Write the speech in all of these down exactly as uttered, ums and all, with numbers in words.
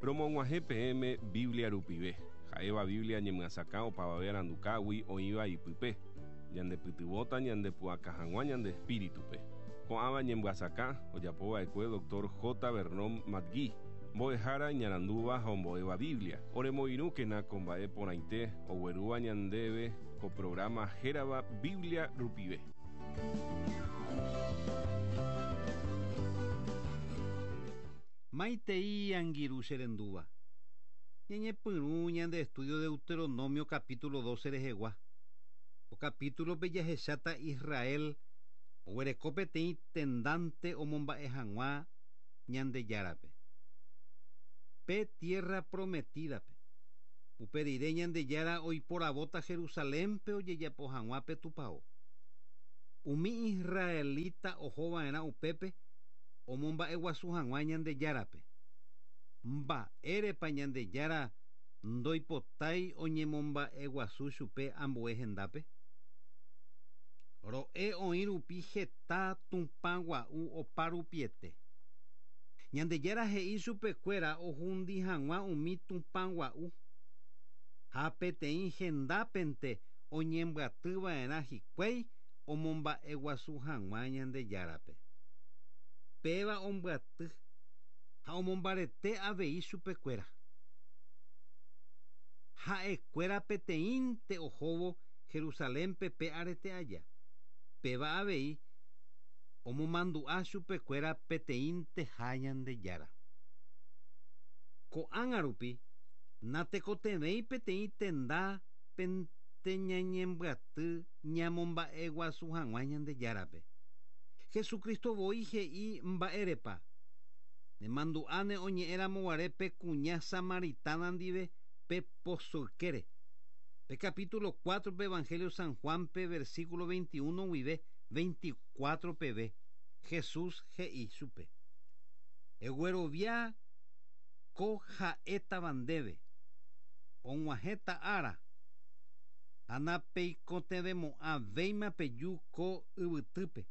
Romog̃uahẽ peẽme Biblia rupive. Ha'éva Biblia ñemyasakã opavave arandukágui oĩva ipype. Ñandepytyvõta ñandepu'aka hag̃ua ñande espíritupe. Ko'ãva ñemyasakã ojapova'ekue doctor J. Vernon McGee, mbo'ehára iñarandúva ha ombo'éva Biblia. Oremoirũkena ko mba'e porãite oguerúva ñandéve ko programa hérava Biblia rupive. Maitei angirũ cherendúva. Ñañepyrũ ñande estudio Deuteronomio capítulo doce rehegua. O capítulo pe jahecháta Israel oguereko peteĩ tendante omomba'e hag̃ua Ñandejárape. Pe tierra prometidape. Upe rire Ñandejára oiporavóta Jerusalénpe ojejapo hag̃ua pe tupão. Umi israelita ohova'erã upépe omomba'eguasu hag̃ua Ñandejárape. Mba'érepa Ñandejára ndoipotái oñemomba'eguasu chupe ambue hendápe. Ro'e oĩ rupi heta Tupã gua'u opa rupiete. Ñandejára he'i chupekuéra ohundi hag̃ua umi Tupã gua'u. Ha peteĩ hendápente oñembyatyva'erã hikuái omomba'eguasu hag̃ua Ñandejárape. Péva ombyaty ha omombarete avei chupekuéra. Ha'ekuéra peteĩnte ohóvo Jerusalénpe pe arete aja. Péva avei omomandu'a chupekuéra peteĩnteha Ñandejára. Ko'ág̃a rupi natekotevẽi peteĩ tenda pente ñañembyaty ñamomba'eguasu hag̃ua Ñandejárape. Jesucristo voi he'i mba'érepa. Nemandu'áne oñe'ẽramoguare pe kuña samaritana ndive pe pozo ykére. Pe capítulo cuatro pe Evangelio San Juan pe versículo veintiuno guive veinticuatro peve Jesús he'i chupe. Eguerovia ko ha'étava ndéve. Og̃uahẽta ára. Ha napeikotevẽmo'ãvéima peju ko yvytýpe.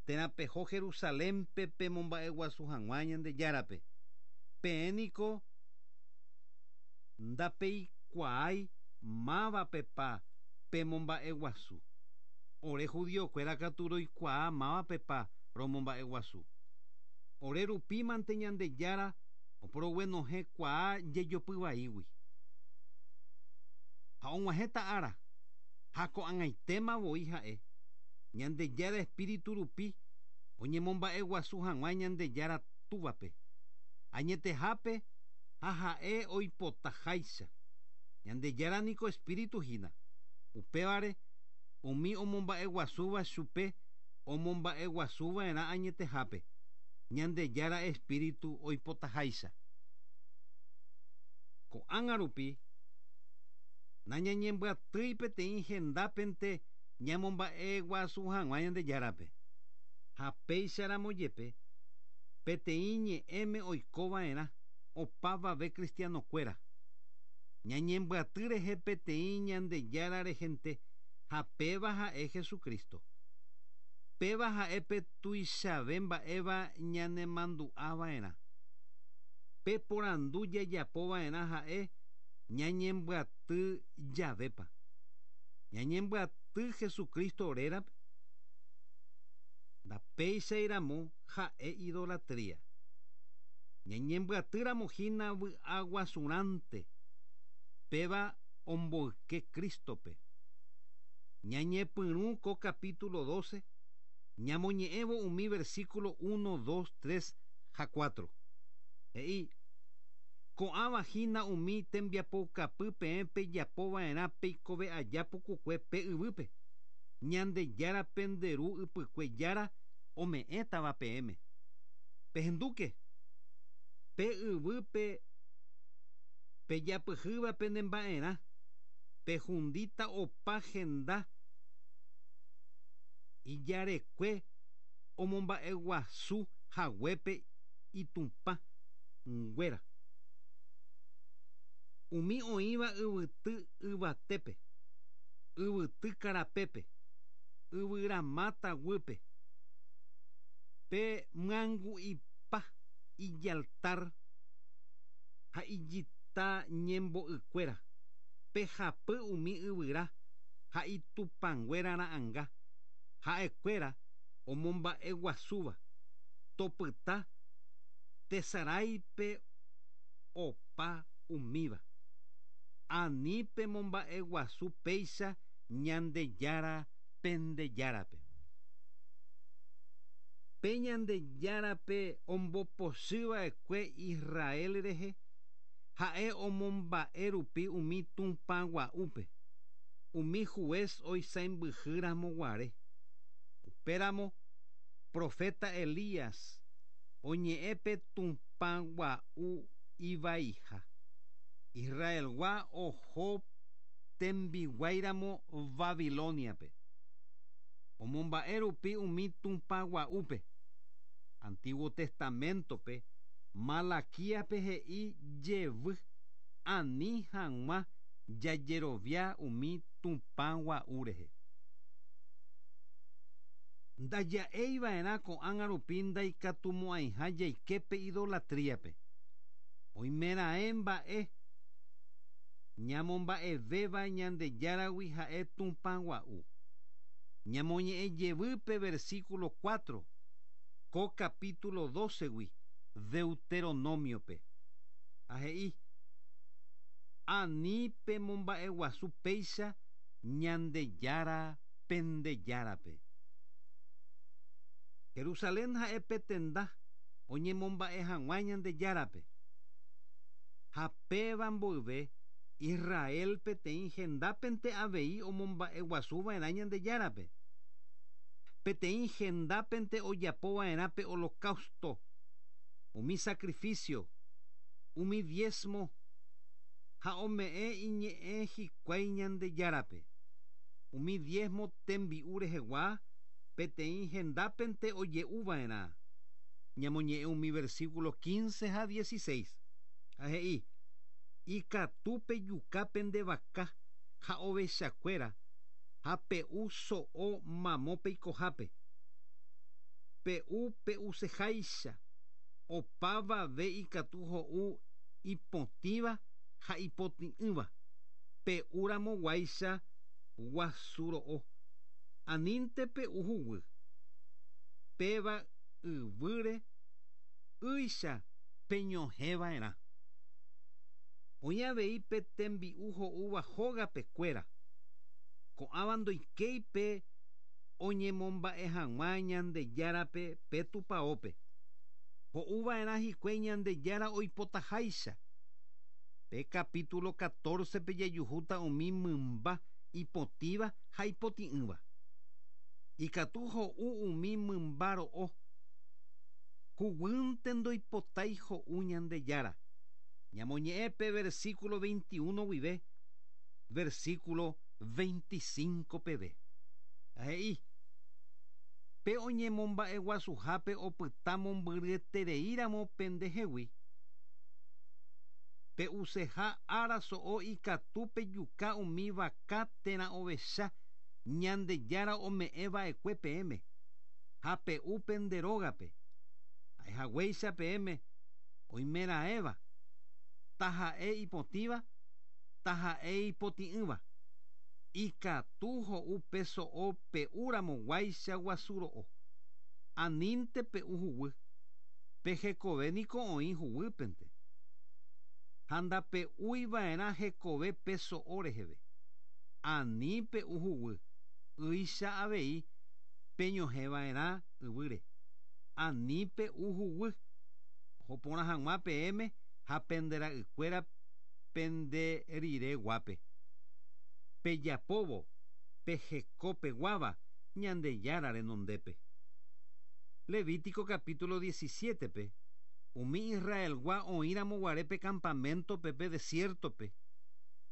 Térã peho Jerusalénpe pemomba'eguasu hag̃ua Ñandejárape. Peẽ niko ndapeikuaái mávapepa pemomba'eguasu. Ore judiokuéra katu roikuaa mávapepa romomba'eguasu. Ore rupímante Ñandejára oporoguenohẽkuaa jejopyvaígui. Ha og̃uahẽta ára ha ko'ag̃aitéma voi ha'e. Ñandejára espíritu rupi oñemomba'eguasu hag̃ua Ñandejára túvape. Añetehápe ha ha'e oipotaháicha. Ñandejára niko espíritu hína. Upévare umi omomba'eguasúva chupe omomba'eguasuva'erã añetehápe. Ñandejára espíritu oipotaháicha. Ko'ág̃a rupi nañañembyatýi peteĩ hendápente ñamomba'eguasu hag̃ua Ñandejárape. Ha péicharamo jepe peteĩ ñe'ẽme oikova'erã opavave cristianokuéra. Ñañembyaty rehe peteĩ Ñandejára rehente ha péva ha'e Jesucristo. Péva ha'e pe tuichave mba'éva ñanemandu'ava'erã. Pe porandu jajapova'erã ha'e ñañembyaty javépa. Ñañembyaty Jesucristo rérape. Ndapéichairamo ha'e idolatría. Ñañembyatýramo hína vy'aguasurãnte. Péva omboyke Cristope. Ñañepyrũ ko capítulo doce ñamoñe'ẽvo umi versículo uno, dos, tres ha cuatro. He'i ko'ãva hína umi tembiapoukapy peẽ pejapova'erã peikove aja pukukue pe yvýpe. Ñandejára penderu ypykue jára ome'ẽtava peẽme. Pehendúke pe yvýpe pejapyhýva penemba'erã pehundíta opa henda ijarekue omomba'eguasu haguépe itupã nguéra. Umi oĩva yvyty yvatépe, yvyty karapépe, yvyramáta guýpe, pe myangu'ipa ijaltar Ha ijita ñembo'ykuéra pehapy umi yvyra ha itupãnguéra ra'ãnga ha'ekuéra omomba'eguasúva topyta tesaráipe opa umíva ani pemomba'eguasu péicha Ñandejára pendejárape. Pe Ñandejárape ombopochyva'ekue Israel rehe ha'e omomba'e rupi umi tupãgua'úpe umi juez oisãmbyhýramo guare. Upéramo profeta Elías oñe'ẽpe tupãgua'u ivaiha. Israelgua oho tembiguáiramo Babiloniape. Omomba'e rupi umi tupãgua'úpe. Antiguo Testamentope Malaquíape he'i jevy ani hag̃ua jajerovia umi tupãgua'u rehe. Ndaja'eiva'erã ko'ág̃a rupi ndaikatumo'ãiha jaiképe idolatríape. Oimeraẽ mba'e ñamomba'evéva Ñandejáragui ha'e tupãgua'u. Ñamoñe'ẽ jevýpe versículo cuatro ko capítulo doce-gui Deuteronomiope. Ha he'i ani pemomba'eguasu péicha Ñandejára pendejárape. Jerusalén ha'e petenda oñemomba'e hag̃ua Ñandejárape. Ha péva mboyve Israel peteĩ hendápente avei omomba'eguasuva'erã Ñandejárape. Peteĩ hendápente ojapova'erã pe holocausto, umi sacrificio, umi diezmo ha ome'ẽ iñe'ẽ hikuái Ñandejárape. Umi diezmo tembi'u rehegua peteĩ hendápente oje'uva'erã. Ñamoñe'ẽ umi versículo quince ha dieciséis. Ha he'i ikatu pejuka pende vaka ha ovechakuéra ha pe'u so'o mamo peikohápe. Pe'u pe'useháicha opavave ikatu ho'u ipotĩva ha ipotĩ'ỹva pe'úramoguáicha guasuro'o anínte pe'u huguy péva yvýre ýicha peñohẽva'erã. Oĩ avei pe tembi'u ho'úva hógapekuéra. Ko'ãva ndoikéipe oñemomba'e hag̃ua Ñandejárape pe tupãópe. Ho'uva'erã hikuái Ñandejára oipotaháicha. Pe capítulo catorce pe jajuhúta umi mymba ipotĩva ha ipotĩ'ỹva. Ikatu ho'u umi mymba ro'o. Huguýnte ndoipotái ho'u Ñandejára. Ñamoñe'ẽ pe versículo veintiuno guive versículo veinticinco peve. Ha he'i pe oñemomba'eguasuhápe opyta mombyryetereíramo pendehegui. Pe'useha ára so'o ikatu pejuka umi vaka térã ovecha Ñandejára ome'ẽva'ekue peẽme ha pe'u pende rógape. Ha'ehaguéicha peẽme oimeraẽva taha'e ipotĩva taha'e ipotĩ'ỹva. Ikatu ho'u pe so'o pe'úramoguáicha guasuro'o. Anínte pe'u huguy. Pe hekove niko oĩ huguýpente. Ha ndape'úiva'erã hekove pe so'o reheve. Ani pe'u huguy. Ýicha avei peñohẽva'erã yvýre. Ani pe'u huguy. Oho porã hag̃ua peẽme ha pendera'ykuéra pende rire guápe. Pejapóvo pehekopeguáva Ñandejára renondépe. Levítico capítulo diecisiete pe umi Israelgua oĩramoguare pe campamento pe desiertope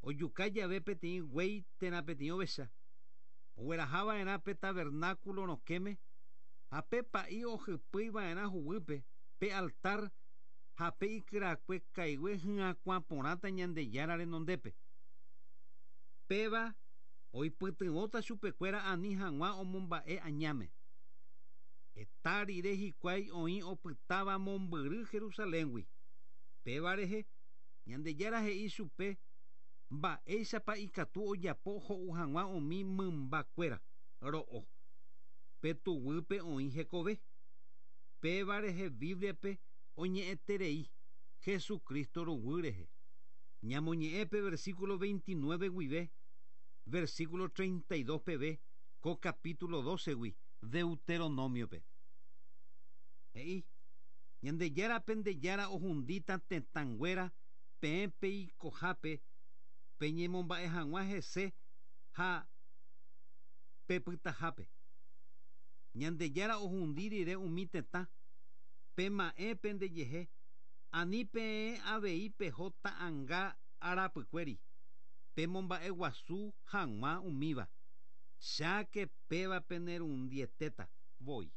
ojuka jave peteĩ guéi térã peteĩ ovecha. Oguerahava'erã pe tabernáculo rokẽme ha pe pa'i ohypýiva'erã huguýpe pe altar ha pe ikyrakue kaigue hyakuã porãta Ñandejára renondépe. Péva oipytyvõta chupekuéra ani hag̃ua omomba'e añáme. Heta rire hikuái oĩ opytáva mombyry Jerusaléngui. Péva rehe Ñandejára he'i chupe mba'éichapa ikatu ojapo ho'u hag̃ua umi mymbakuéra ro'o. Pe tuguýpe oĩ hekove. Péva rehe Bibliape oñe'ẽterei Jesucristo ruguy rehe. Ñamoñe'ẽ pe versículo veintinueve guive, versículo treinta y dos peve, ko capítulo doce gui, Deuteronomiope. He'i, Ñandejára pendejára ohundíta tetãnguéra peẽ peikohápe peñemomba'e hag̃ua hese ha pepytahápe. Ñandejára ohundi rire umi tetã, pema'ẽ pendejehe, ani peẽ avei peho ta'ãnga arapykuéri, pemomba'eguasu hag̃ua umíva, cháke péva penerundietéta voi.